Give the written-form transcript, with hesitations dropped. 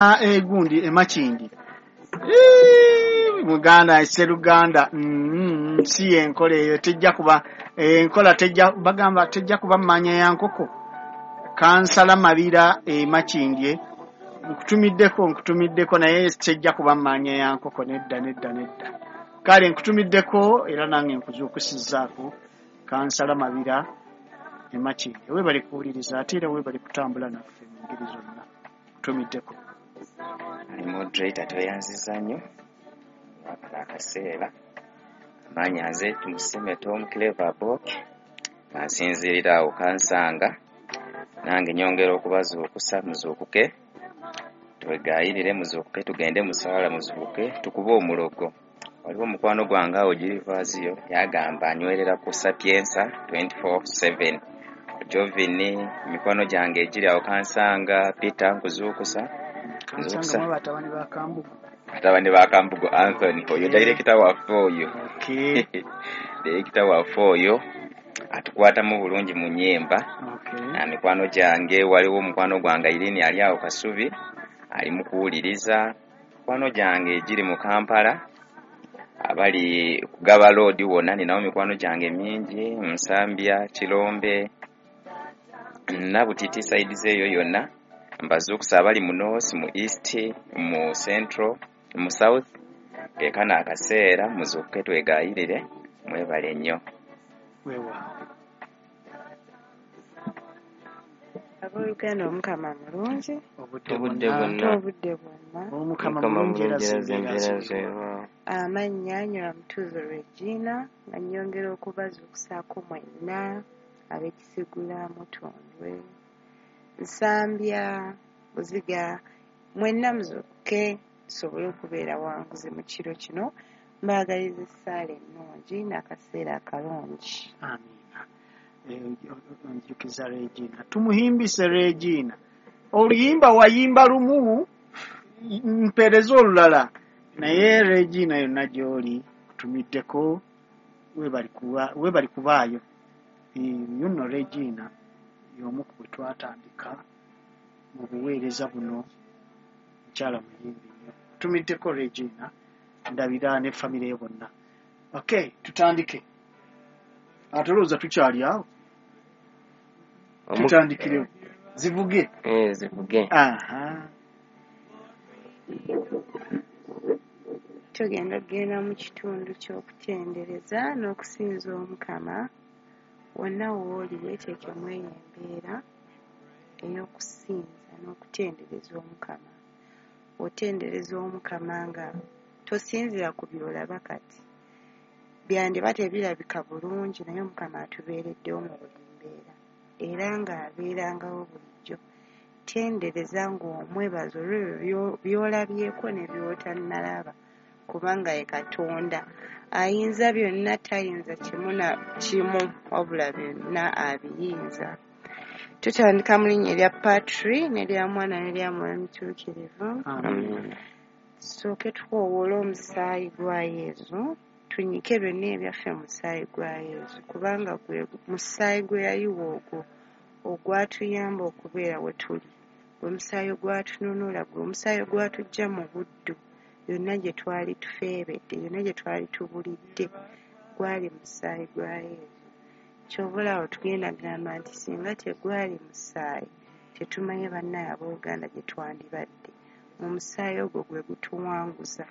Egundi emakindi muganda seruganda, si enkola eyo tejja kuba enkola, tejja bagamba tejja kuba mmanya ya nkoko. Kansala Mabira emakindye, nkutumiddeko, nkutumiddeko, naye tejja kuba mmanya ya nkoko. Nedda, nedda, nedda. Kale nkutumiddeko era nange nkuzuukusizzaako. Kansala Mabira emakindye, weebale kuwuliriza ate era weebale kutambula naffe mu ngeri zonna. Nkutumiddeko. Moderator, tweyanziza nnyo wakala akaseera. Amaanyi nze Tumusime Tom Clever Bok, nga nsinziirira awo Kansanga. Nange nyongera okubazuukusa, muzuukuke twegayirire, muzuukuke tugende musaala, muzuukuke tukube omulogo. Waliwo omukwano gwange awo Girivaziyo yagamba anywerera ku Sapienza 24/7. Jovini, mikwano gyange egiri awo Kansanga, Peter, nkuzuukusa. Kansanga mu batabani ba Kambugu. Batabani ba Kambugu Anthony oyo, director waffe oyo. Director waffe oyo atukwatamu bulungi mu nyimba. Na mikwano gyange, waliwo omukwano gwange Irene ali awo Kasubi, ali mu kuwuliriza. Mikwano gyange egiri mu Kampala, abali kugaba loodi wonna, ninawo mikwano gyange mingi, Nsambya, Kirombe, Nabutiti, side eyo yonna mbazuukusa. Abali mu north, mu east, mu central, mu south, kekano akaseera muzuukuke twegayirire. Mwebale nnyo. Weewaawo. Abooluganda, Omukama mulungi. Obudde Obudde bwonna. bwonna. Obudde bwonna. Omukama Mukama mulungi era mulungi era zembeera zembeera zeewa. zeewa. Amannya Nyola Mutuuzo Regina, nga nnyongera okubazuukusaako mwenna ab'Ekisigula, Mutundwe, Nsambya, Buziga, mwenna muzuukuke tusobole okubeera wanguzi mu kiro kino. Mbaagaliza essaala ennungi n'akaseera akalungi. Amiina. Njukiza Regina, tumuhimbise Regina. Oluyimba wayimba lumu, mpeereza olulala. Naye Regina, yonna gy'oli kutumiddeko, weebali kubaayo. Yuno Regina y'omu ku bwe twatandika mu buweereza buno, mukyala muyimbi nnyo. Tumiddeko Regina ndabira ne famire ye bonna. Okay, tutandike. Ate olowooza tukyali awo? Tutandikirewo zivuge. Eh, zivuge. Aha. Tugenda kugenda mu kitundu ky'okutendereza n'okusinza Omukama. Wonna w'oli weeteekemu eyo embeera ey'okusinza n'okutendereza Omukama. Otendereza Omukama nga tosinziira ku by'olaba kati. Byandiba tebirabika bulungi, naye Omukama atubeereddewo mu buli mbeera era ng'abeerangawo bulijjo. Tendereza ng'omwebaza olw'ebyo by'olabyeko ne by'otannalaba, kubanga ye Katonda ayinza byonna, tayinza kimu na kimu, wabula byonna abiyinza. Tutandika mu linnya erya Patri n'erya Mwana n'erya Mwoyo Mutuukirivu. Amiina. Tusooke tukoowoole omusaayi gwa Yezu, tunyike byonna ebyaffe mu musaayi gwa Yezu, kubanga gwe musaayi gwe yayiwa ogwo ogwatuyamba okubeera we tuli, gwe musaayi ogwatununula, gwe musaayi ogwatuggya mu buddu yonna gye twali tufeebedde, yonna gye twali tubulidde, gwali musaayi gwa Yezu. Kyova olaba tugenda gamba nti singa tegwali musaayi, tetumanyi bannaye abooluganda gye twandibadde. Omusaayi ogwo gwe gutuwanguza.